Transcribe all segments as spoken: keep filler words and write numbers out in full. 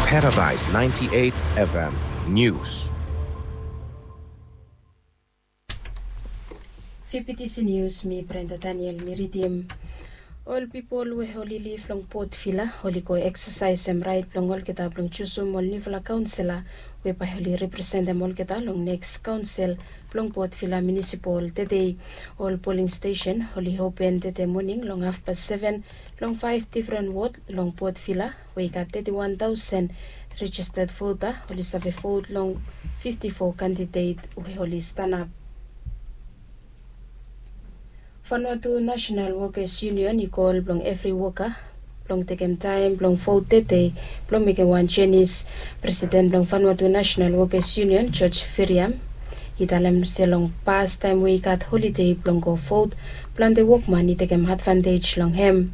Paradise ninety-eight F M News. Fifty T C News, mi Brenda Daniel mi ridim. Ol pipol we oli liv long Port Vila oli go eksasaesem rait blong olgeta blong jusum ol niufala kaonsela we bae oli representem olgeta long neks kaonsel blong Port Vila Munisipal tede. Ol poling stesen oli open tede moning long hafpas seven long faef difren wod long Port Vila we i gat teti wan taosen rejisted vota oli save vot long fifti fo kandidet we oli stanap. Vanuatu National Workers Union i kol blong evri woka blong tekem taem blong vot tede blong mekem wan jenis. Presiden blong Vanuatu National Workers Union, George Firiam, i talem se long pastaem we i gat holide blong go vot, plante wokman i tekem advantej long hem.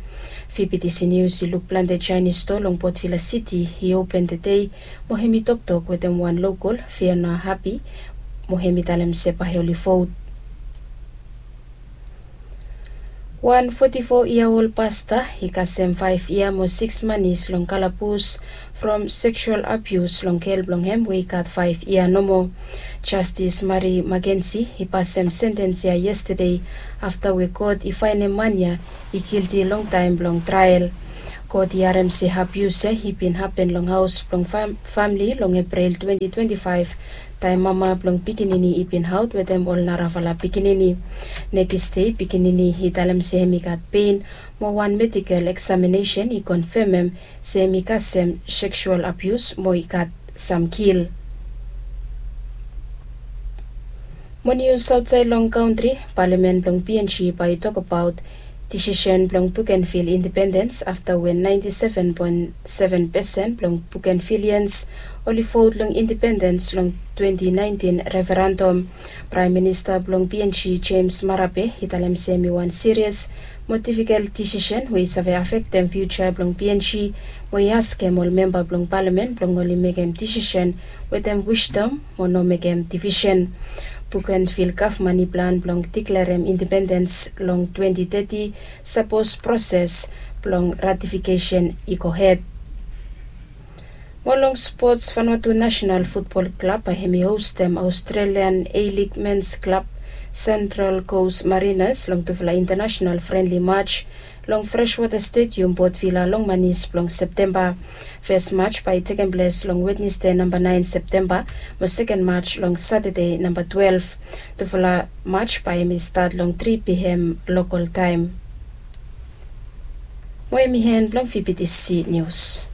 Fifty T C News i luk plante Jaenis stoa long Port Vila Siti i open tede, mo hem i toktok wetem wan lokol, Fiona Happy, mo hem i talem se bae oli vot. Wan foti fo yia ol pasta i kasem faef yia mo siks manis long kalabus from seksual abius long gel blong hem we i gat faef yia nomo. Jastis Mari Makensi i pasem sentens ya yestade afta we kot i faenem man ya i gilti long taem blong trael. Kot i harem se abius ya i bin hapen long haos blong fam- famle long Eprel twenti twenti faef, taem mama blong pikinini i bin aot wetem ol narafala pikinini. Nekis dei pikinini i talem se hem i gat pen mo wan medikel eksaminesen i konfemem se hem i kasem seksual abius mo i gat sam gil. Mo nius aotsaed long kantri, palamen blong P N G bae i tokbaot disisen blong Bougainville independens afta we naenti seven poen seven pesen blong Bougainvilleans oli vot long independens long twenti naentin referendum. Praem Minista blong P N G, James Marape, i talem se hem i wan sirias mo difikel disisen we i save afektem fiuja blong P N G, mo i askem ol memba blong palamen blong oli mekem disisen wetem wisdom mo no mekem divisen. Bougainville gavman i plan blong diklerem independens long twenti teti, sapos proses blong ratifikesen i gohed. Mo long spots, Vanuatu National Futbol Klab bae hem i hostem Australian A-League Men's Club Central Coast Mariners long tufala international friendly match long Freshwater Stadium, Port Vila, long manis blong Septemba. Fes match bae i tekem ples long Wednesde namba naen Septemba, mo seken match long Satade namba twelef. Tufala match bae hem i stat long tri P M lokol taem. Mo hem i en blong V P T C News.